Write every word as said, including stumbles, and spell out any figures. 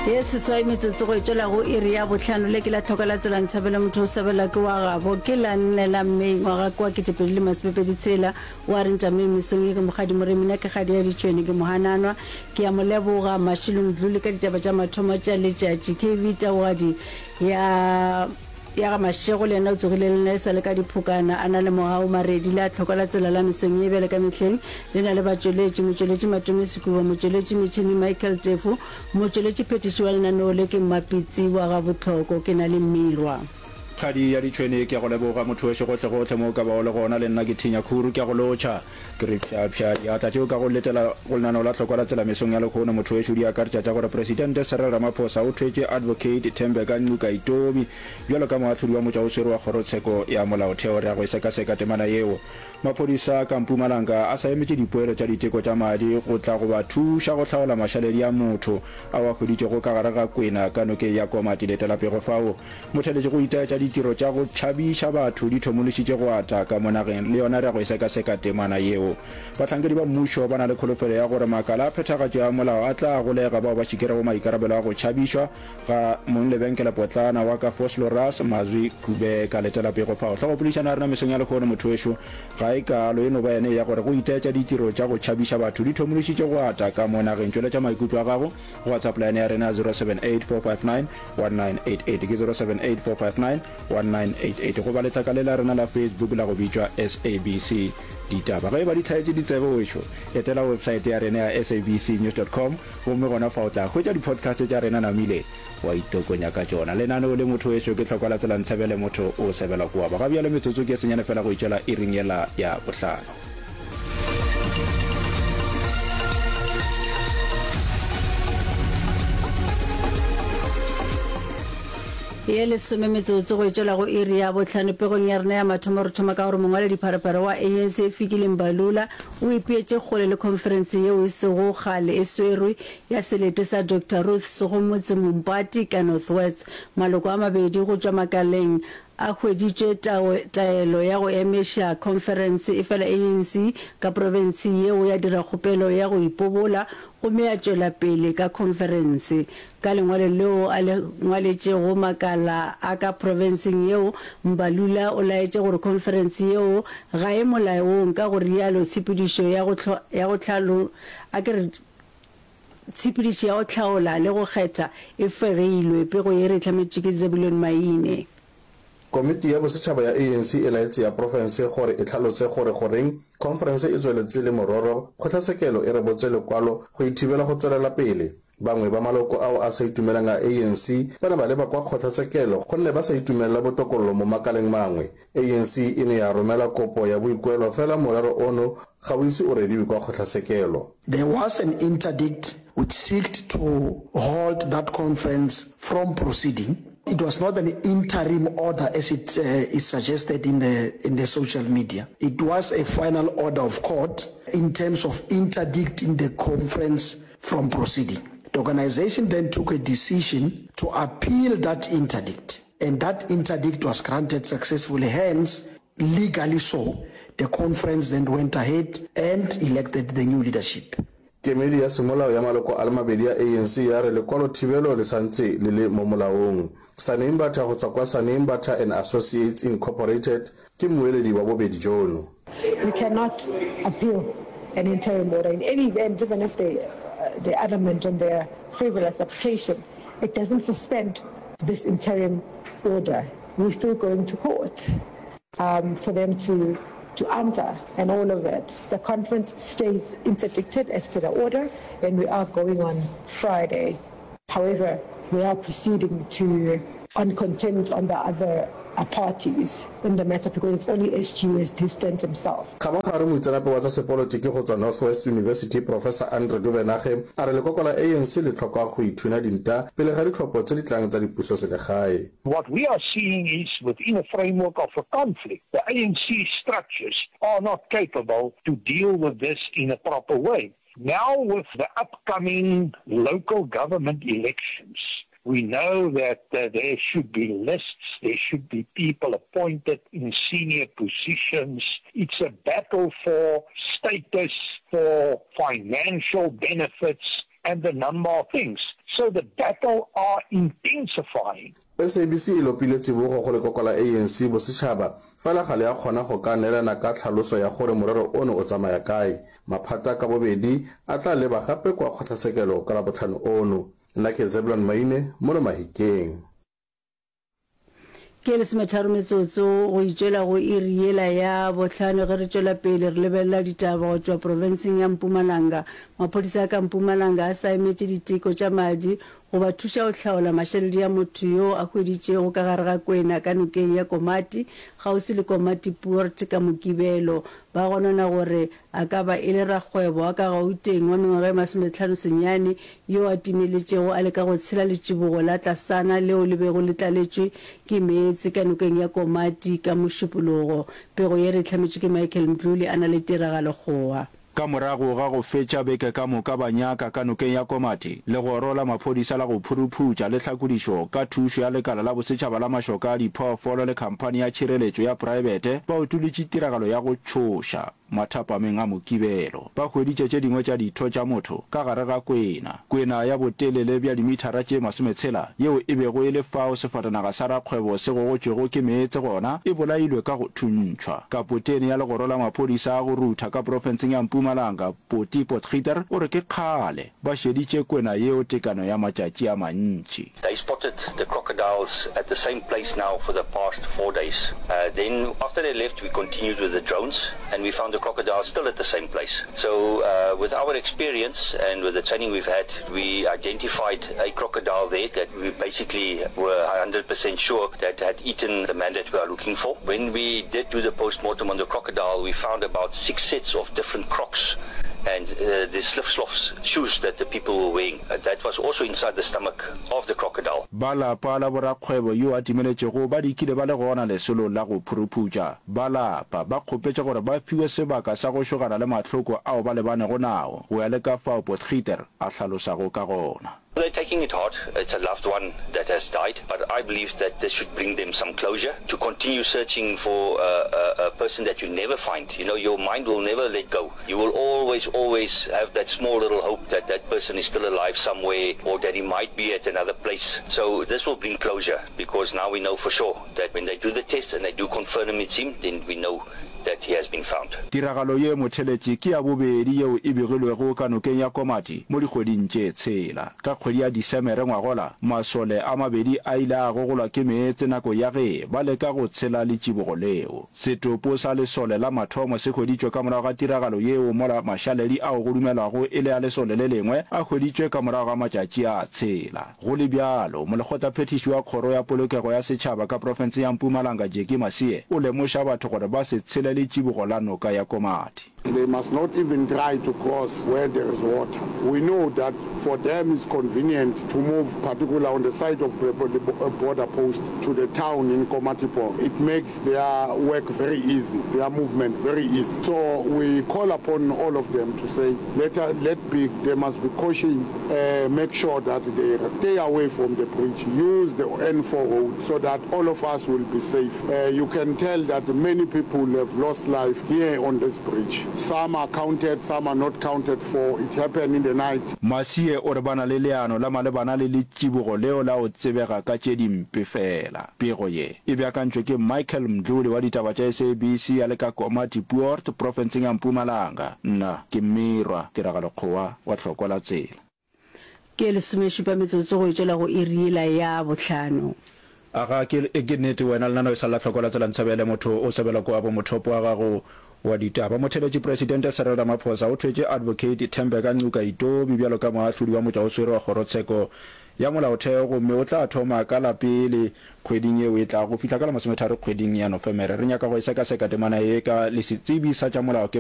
Ye seswai metsotso go e tšwela go iri ya bohlano. Le ke la tlhoka la tsela ntshabela motho o sebela ke wa gabo. Ke la nne la Mei ngwaga kwa ketepedi le masomepedi tshela. Wa re ntšameng mesong ye ke mokgadi Moremi, nna ke kgadi ya ditšhwene ke mohananwa. Ke a mo leboga Mashilong Dluli ka ditaba tša mathomo tša letšatši. K V Taugadi ya ya ga Mashego le yena o tsogile le nna e sa le ka diphokana a na le mogau Maredi. Le a tlhoka la tsela la mesong ye bjale ka mehleng le na le batšweletši motšweletši Matome Sekuba, motšweletši metšhini Michael Tefo, motšweletši phetiši wa lenaneo le ke Mmapitsi wa ga Botlhoko. Ke na le Mmirwa. Kgadi ya ditšhwene, ke a go leboga motho wešo gohlegohle mo o ka bago le gona. Le nna ke thinya khuru, ke a go lotšha. Ke re pšhapšha diatla tšeo ka go letela go lenaneo la Hlokwa la Tsela mesong ya lehono. Motho wešo, di akaretša tša gore Presidente Cyril Ramaphosa o thwetše Advocate Thembeka Ngcukaitobi bjalo ka moahlodi wa motšwaoswere wa Kgorotsheko ya Molaotheo. Re ya go e sekaseka temana yeo. Maphodisa ka Mpumalanga a sa emetše dipoelo tša diteko tša madi go tla go ba thuša go hlaola mašaledi a motho ao a hweditšwego ka gare ga kwena ka nokeng ya Komati. Letela pego fao. Motheletši go itaetša ditiro tša go tšhabiša batho di thomološitše go ata ka mo nageng. Le yona re ya go e sekaseka temana yeo. Bahlankedi ba mmušo ba na le kholofelo ya gore makala a phethagatšo ya molao a tla golega bao ba šikerego maikarabelo a go tšhabišwa ga monglebenkelepotlana wa ka Vosloorus, Mazwi Kubeka. Letela pego fao. Hlogopoledišano ya rena mesong ya lehono motho wešo ga e kaalo, e no ba yene ya gore go itaetša ditiro tša go tšhabiša batho di thomološitše go ata ka mo nageng. Tšweletša maikutlo a gago go WhatsApp line ya rena ya zero seven eight four five nine one nine eight eight, ke zero seven eight four five nine one nine eight eight, goba letlaka le la rena la Facebook la go bitšwa S A B C Ditaba. Ge e ba di hlaetše ditsebe wešo, etela websaete ya rena ya S A B C news dot com gomme gona fa o tla hwetša di-podcast tša rena namile wa itokonya ka tšona. Lenaneo le motho wešo ke Hlokwa la Tsela Ntshebele motho o sebela kua ba. Ga bjale metsotso ke senyane fela go itšwela iring yela ya bohlano. Ye lesome metsotso go e tšwela go iri ya bohlano. Pegong ya rena ya mathomo re thoma ka gore mongwaledipharephare wa A N C Fikile Mbalula o ipeetše kgole le khonferense yeo e sego kgale e swerwe ya selete sa Doctor Ruth Segomotsi Mompati ka North West. Maloko a mabedi go tšwa makaleng a hweditšwe taelo ya go emiša khonferense, efela A N C ka profense yeo ya dira kgopelo ya go ipobola gomme ya tšwela pele ka khonferense. Ka lengwalo leo a le ngwaletšego makala a ka profenseng yeo, Mbalula o laetše gore khonferense yeo ga e molaong, ka go realo tshepedišo ya go ya go hlalo a ke re tshepedišo ya go hlaola le go kgetha e fegilwe. Pego ye re hlametšwe ke Zebulon Maine. Komiti ya bosetšhaba ya A N C e laetše ya profense gore e hlalose gore goreng khonferense e tšweletše le mororo kgotlatshekelo e rebotše lekwalo go e thibela go tšwelela pele. Bangwe ba maloko ao a sa itumelang a A N C ba ne ba leba kwa kgotlatshekelo gonne ba sa itumelela botokololo mo makaleng mangwe. A N C e ne ya romela kopo ya boikuelo fela morero ono ga o ise o rediwe kwa kgotlatshekelo. There was an interdict which sought to halt that conference from proceeding. It was not an interim order as it uh, is suggested in the, in the social media. It was a final order of court in terms of interdicting the conference from proceeding. The organization then took a decision to appeal that interdict, and that interdict was granted successfully. Hence, legally so, the conference then went ahead and elected the new leadership. Kemedi ya semolao ya maloko a le mabedi ya A N C ya re lekwalo thibelo le santse le le mo molaong. Sani Mbatha go tswa kwa Sani Mbatha and Associates Incorporated ke mmueledi wa bobedi jono. We cannot appeal an interim order in any event, even if they, uh, they're adamant on their frivolous application. It doesn't suspend this interim order. We're still going to court um, for them to to answer and all of that. The conference stays interdicted as per the order, and we are going on Friday. However, we are proceeding to on contempt on the other uh, parties in the matter because it's only S G who has distanced himself. Kgabagare moitseanape wa tsa sepolotiki go tswa North-West University Professor Andre Duvenage a re lekoko la A N C le tlhoka go ithunya dinta pele ga ditlhopho tse di tlang tsa dipusoselegae. What we are seeing is within a framework of a conflict, the A N C structures are not capable to deal with this in a proper way. Now with the upcoming local government elections, we know that, uh, there should be lists, there should be people appointed in senior positions. It's a battle for status, for financial benefits, and a number of things. So the battle are intensifying. SABC e lopile tsibogo go lekoko la ANC bosetšhaba, fela ga le a kgona go ka neelana ka tlhaloso ya gore morero ono o tsamaya kae. Maphata ka bobedi a tla leba gape kwa kgotlatshekelo ka Labohlano ono. Nna ke Zeblon Maine, mono Mahikeng. Ke lesometharo metsotso go itšwela go iri yela ya bohlano ge re tšwela pele re lebelela ditaba go tšwa profenseng ya Mpumalanga. Maphodisa a ka Mpumalanga a sa emetše diteko tša madi go ba thuša go hlaola mašaledi a motho yo a hweditšwego ka gare ga kwena ka nokeng ya Komati kgauswi le Komatipoort ka Mokibelo. Ba gonona gore a ka ba e le rakgwebo wa ka Gauteng wa mengwaga e masometlhano senyane yo a timeletšego a leka go tshela letšibogo la tlasana leo le bego le tlaletšwe ke meetse ka nokeng ya Komati ka Mošupologo. Pego ye re e hlametšwe ke Michael Mdluli a na le Tiragalo Kgowa. Ka morago ga go fetša beke ka moka ba nyaka ka nokeng ya Komati, legoro la maphodisa la go phuruphutša le tlhakodišo ka thušo ya lekala la bosetšhaba la mašoka a diphoofolo le khamphani ya tšhireletšo ya praebete ba utolotše tiragalo ya go tšhoša mathapameng a Mokibelo. Ba hweditše tše dingwe tša ditho tša motho ka gare ga kwena, kwena ya botelele bja dimithara tše masometshela yeo e bego e le fao sefatanaga sa rakgwebo se gogotšwego ke meetse gona, e bolailwe ka go thuntšhwa. Kapotene ya legoro la maphodisa a go rutha ka profenseng ya Mpumalanga, Poti Potgieter, o re ke kgale ba šeditše kwena yeo tekano ya matšatši a mantši. They spotted the crocodiles at the same place now for the past four days. Then after they left we continued with the drones and we found the crocodiles still at the same place. So with our experience and with the training we've had, we identified a crocodile there that we basically were hundred percent sure that had eaten the man that we are looking for. When we did do the post-mortem on the crocodile, we found about six sets of different crocs and uh, the slip-slops shoes that the people were wearing. Uh, that was also inside the stomach of the crocodile. Ba lapa la borakgwebo yo a timeletšego ba dikile ba le gona lesolong la go phuruphutša. Ba lapa ba kgopetše gore ba fiwe sebaka sa go šogana le mahloko ao ba lebanego nao, go ya le ka fao Potgieter a hlalosago ka gona. They're taking it hard, it's a loved one that has died, but I believe that this should bring them some closure to continue searching for a, a, a person that you never find. You know, your mind will never let go. You will always, always have that small little hope that that person is still alive somewhere or that he might be at another place. So this will bring closure because now we know for sure that when they do the test and they do confirm it's him, then we know that he has been found. Tiragalo ye motheletši ke ya bobedi yeo e begilwego ka nokeng ya Komati mo dikgweding tše tshela. Ka kgwedi ya Disemere ngwagola, masole a mabedi a ile a gogolwa ke meetse nako ya ge ba leka go tshela letšibogo leo. Setopo sa lesole la mathomo se hweditšwe ka morago ga tiragalo yeo mola mašaledi ao go dumelwago e le a lesole le lengwe a hweditšwe ka morago ga matšatši a tshela. Go le bjalo, molekgotlaphethiši wa Kgoro ya Polokego ya Setšhaba ka profenseng ya Mpumalanga, Jackie Masie, o lemoša batho gore ba se tshele letšibogo la noka ya Komati. They must not even try to cross where there is water. We know that for them it's convenient to move particular on the side of the border post to the town in Komatipoort. It makes their work very easy, their movement very easy. So we call upon all of them to say let, let be, there must be caution, uh, make sure that they stay away from the bridge, use the N four road so that all of us will be safe. Uh, you can tell that many people have lost life here on this bridge. Some are counted, some are not counted for. It happened in the night. Masie o re ba na le leano la malebana le letšibogo leo la go tsebega ka tše dimpe fela. Pego ye e beakantšwe ke Michael Mdluli wa ditaba tša SABC a le ka Komatipoort, profenseng ya Mpumalanga. Nna ke Mmirwa Tiragalo Kgowa wa Tlhokwa la Tsela. Ke lesomešupa metsotso go e tšwela go iri yela ya bohlano. Aga, ke, ke nnete wena, lenaneo e sa le la Tlhokwa la Tsela Ntshebele, motho o sebelwa kwa bo mothopo wa gago wa ditaba. Motheeletši Presidente Cyril Ramaphosa o thwetše Advocate Thembeka Ngcukaitobi bjalo ka moahlodi wa motšwaoswere wa Kgorotsheko ya Molaotheo gomme o tla thoma ka la pele kgweding yeo e tlago go fihla ka la masometharo kgweding ya Nofemere. Re nyaka go e sekaseka temana ye ka le setsebi sa tša molao ke